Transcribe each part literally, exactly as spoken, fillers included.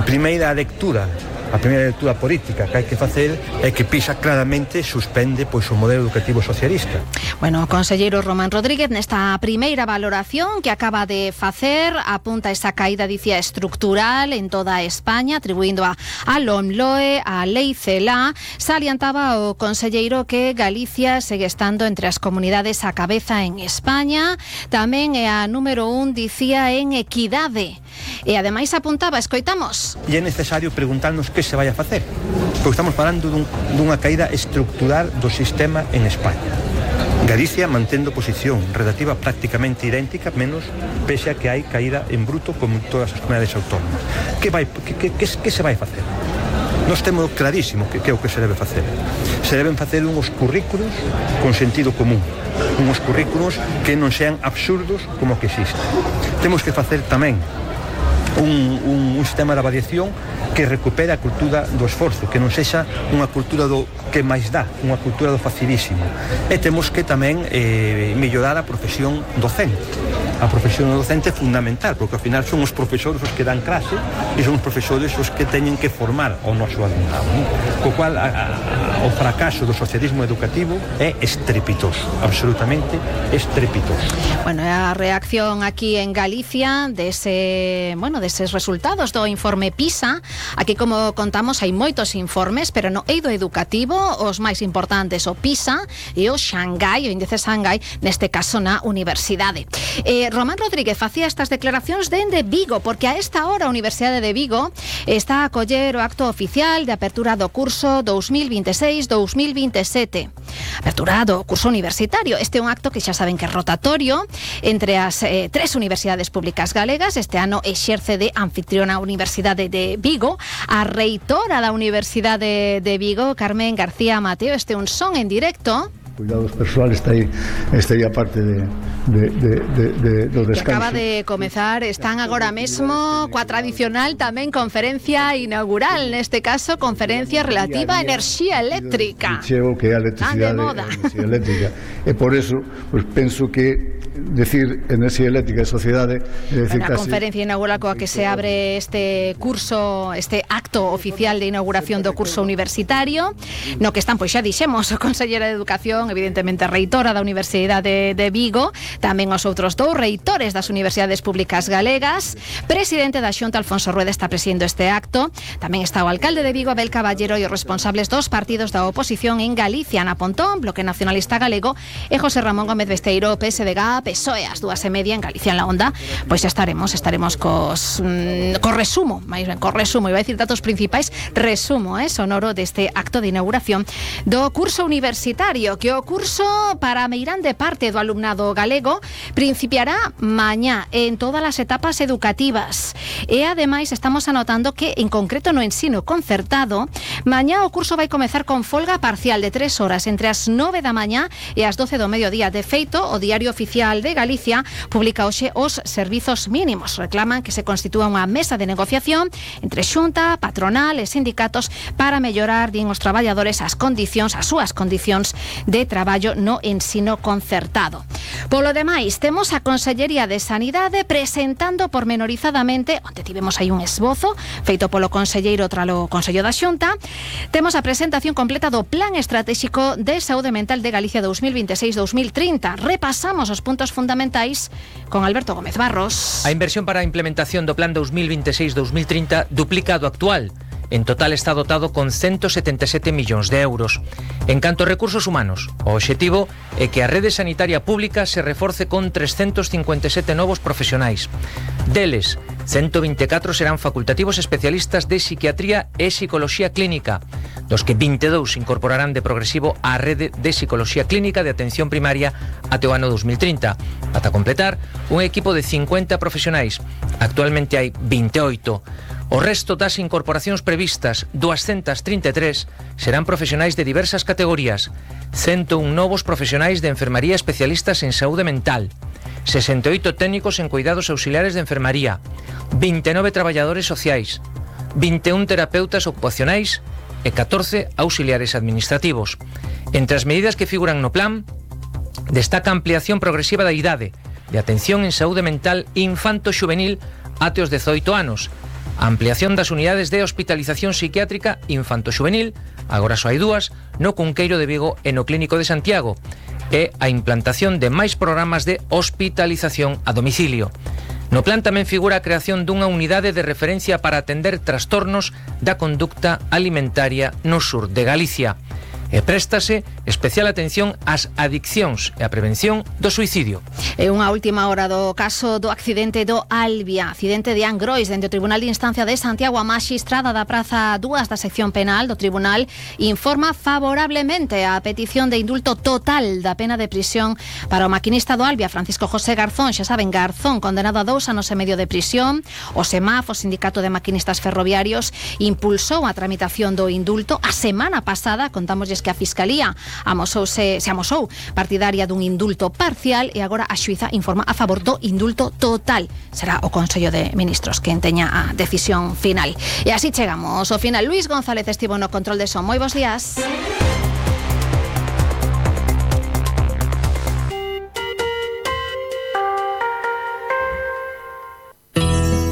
A primeira lectura A primeira lectura política que hai que facer é que PISA claramente suspende pois o modelo educativo socialista. Bueno, o conselleiro Román Rodríguez nesta primeira valoración que acaba de facer apunta esa caída, dicía, estructural en toda España, atribuindo a, a LOMLOE, a Lei CELA. Salientaba o conselleiro que Galicia segue estando entre as comunidades a cabeza en España, tamén é a número un, dicía, en equidade. E ademais apuntaba, escoitamos. E é necesario preguntarnos que se vai a facer, porque estamos falando dun, dunha caída estructural do sistema en España. Galicia mantendo posición relativa prácticamente idéntica, menos pese a que hai caída en bruto como en todas as comunidades autónomas. Que, vai, que, que, que, que se vai facer? Nós temos clarísimo que, que é o que se debe facer. Se deben facer unhos currículos con sentido común, unhos currículos que non sean absurdos como que existen. Temos que facer tamén Un, un, un sistema de avaliación que recupere a cultura do esforzo, que non sexa unha cultura do que máis dá, unha cultura do facilísimo. E temos que tamén eh, mellorar a profesión docente. A profesión docente é fundamental, porque ao final son os profesores os que dan clase e son os profesores os que teñen que formar o noso alumnado, non? Co cual a, a, o fracaso do socialismo educativo é estrepitoso, absolutamente estrepitoso. Bueno, a reacción aquí en Galicia dese, bueno, deses resultados do informe PISA. Aquí, como contamos, hai moitos informes, pero no eido educativo os máis importantes o PISA e o Xangai, o índice Xangai, neste caso na universidade. Eh, Román Rodríguez facía estas declaracións dende Vigo, porque a esta hora a Universidade de Vigo está a coller o acto oficial de apertura do curso dos mil vinte e seis dos mil vinte e sete. Apertura do curso universitario. Este é un acto que xa saben que é rotatorio entre as eh, tres universidades públicas galegas. Este ano exerce de anfitriona a Universidade de Vigo a reitora da Universidade de Vigo, Carmen García Mateo. Este é un son en directo. Cuidados persoales está aí, está aí a parte de, de, de, de, de, do descanso. Que acaba de comezar, están agora mesmo coa tradicional tamén conferencia inaugural, neste caso conferencia relativa a enerxía eléctrica. Cheo que é a electricidade, a enerxía eléctrica. E por eso, pues, penso que decir enerxía eléctrica e sociedade é decir, a conferencia inaugural coa que se abre este curso, este acto oficial de inauguración do curso universitario, no que están, pois xa dixemos, o conselleira de Educación, evidentemente reitora da Universidade de Vigo, tamén os outros dous reitores das universidades públicas galegas, presidente da Xunta, Alfonso Rueda, está presidindo este acto, tamén está o alcalde de Vigo, Abel Caballero, e os responsables dos partidos da oposición en Galicia, Ana Pontón, Bloque Nacionalista Galego, e José Ramón Gómez Besteiro, P S D G, P S O E, as dúas e media en Galicia en la Onda. Pois xa estaremos, estaremos cos mm, co resumo, máis ben, co resumo, iba a decir datos principais, resumo, eh, sonoro deste acto de inauguración do curso universitario, que o curso para a meirande parte do alumnado galego principiará mañá en todas as etapas educativas. E ademais estamos anotando que en concreto no ensino concertado, mañá o curso vai comezar con folga parcial de tres horas entre as nove da mañá e as doce do mediodía. De feito, o Diario Oficial de Galicia publica hoxe os servizos mínimos. Reclaman que se constitúa unha mesa de negociación entre Xunta, patronal e sindicatos para mellorar, din os traballadores, as condicións, as súas condicións de traballo no ensino concertado. Polo demais, temos a Consellería de Sanidade presentando pormenorizadamente, onde tivemos aí un esbozo feito polo conselleiro tralo Consello da Xunta, temos a presentación completa do Plan Estratégico de Saúde Mental de Galicia dos mil vinte e seis dos mil trinta. Repasamos os puntos fundamentais con Alberto Gómez Barros. A inversión para a implementación do Plan dos mil vinte e seis dos mil trinta duplica do actual. En total está dotado con ciento setenta e sete millóns de euros. En canto a recursos humanos, o obxectivo é que a rede sanitaria pública se reforce con trescentos cincuenta e sete novos profesionais. Deles, ciento vinte e catro serán facultativos especialistas de psiquiatría e psicoloxía clínica, dos que vinte e dous se incorporarán de progresivo á rede de psicoloxía clínica de atención primaria até o ano dos mil trinta, ata completar un equipo de cincuenta profesionais. Actualmente hai vinte e oito. O resto das incorporacións previstas, doscientos trinta e tres, serán profesionais de diversas categorías, ciento un novos profesionais de enfermaría especialistas en saúde mental, sesenta e oito técnicos en cuidados auxiliares de enfermaría, vinte e nove traballadores sociais, vinte e un terapeutas ocupacionais e catorce auxiliares administrativos. Entre as medidas que figuran no plan, destaca a ampliación progresiva da idade de atención en saúde mental infanto-xuvenil até os dezoito anos, a ampliación das unidades de hospitalización psiquiátrica infanto-xuvenil, agora só hai dúas, no Cunqueiro de Vigo e no Clínico de Santiago, e a implantación de máis programas de hospitalización a domicilio. No plan tamén figura a creación dunha unidade de referencia para atender trastornos da conducta alimentaria no sur de Galicia. E préstase especial atención ás adiccións e a prevención do suicidio. E unha última hora do caso do accidente do Albia, accidente de Angrois, dende o Tribunal de Instancia de Santiago. A magistrada da Praza dúas da sección penal do Tribunal informa favorablemente a petición de indulto total da pena de prisión para o maquinista do Albia, Francisco José Garzón, xa saben, Garzón, condenado a dous anos e medio de prisión. O SEMAF, o Sindicato de Maquinistas Ferroviarios, impulsou a tramitación do indulto. A semana pasada, contámosles que a Fiscalía amosouse, se amosou partidaria dun indulto parcial e agora a xuíza informa a favor do indulto total. Será o Consello de Ministros quen teña a decisión final. E así chegamos ao final. Luis González estivo no control de son. Moi bons días.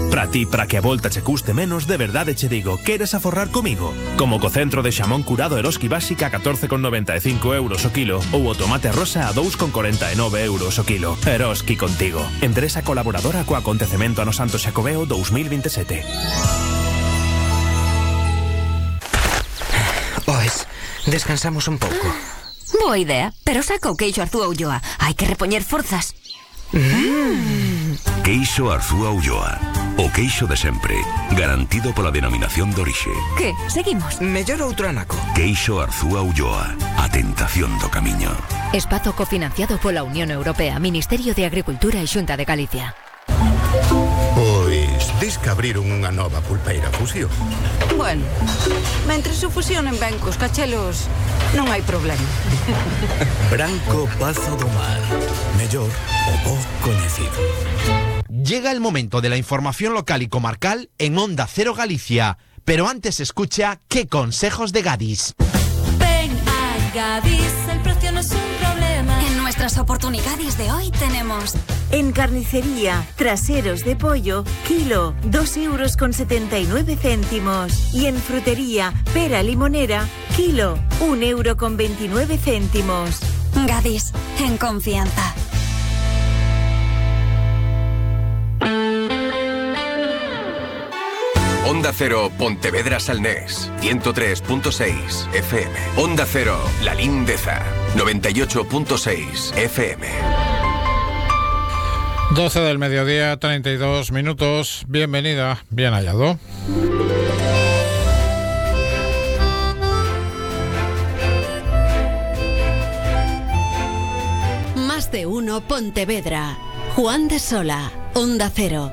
Para ti, para que a volta che custe menos, de verdade che digo, queres aforrar comigo? Como co centro de xamón curado Eroski Básica a catorce con noventa e cinco euros o kilo ou o tomate rosa a dous con corenta e nove euros o kilo. Eroski contigo. Empresa colaboradora co acontecemento ano Santo Xacobeo dous mil veintisiete. Pois, descansamos un pouco. Boa idea, pero saca o queixo Arzúa Ulloa. Hai que repoñer forzas. Mm. Queixo Arzúa Ulloa. O queixo de sempre, garantido pola denominación de orixe. Que? Seguimos? Mellor outro anaco. Queixo Arzúa Ulloa. A tentación do camiño. Espazo cofinanciado pola Unión Europea, Ministerio de Agricultura e Xunta de Galicia. Pois, dis que abriron unha nova pulpeira fusión. Bueno, mentres se fusionen ben cos cachelos, non hai problema. Branco Pazo do Mar. Mellor o bo coñecido. Llega el momento de la información local y comarcal en Onda Cero Galicia. Pero antes escucha ¿Qué consejos de Gadis? Ven a Gadis, el precio no es un problema. En nuestras oportunidades de hoy tenemos... En carnicería, traseros de pollo, kilo, dos euros con setenta y nueve céntimos. Y en frutería, pera limonera, kilo, un euro con veintinueve céntimos. Gadis, en confianza. Onda Cero Pontevedra Salnés, ciento tres punto seis F M. Onda Cero La Lindeza, noventa y ocho punto seis F M. doce del mediodía, treinta y dos minutos. Bienvenida, bien hallado. Más de uno Pontevedra. Juan de Sola, Onda Cero.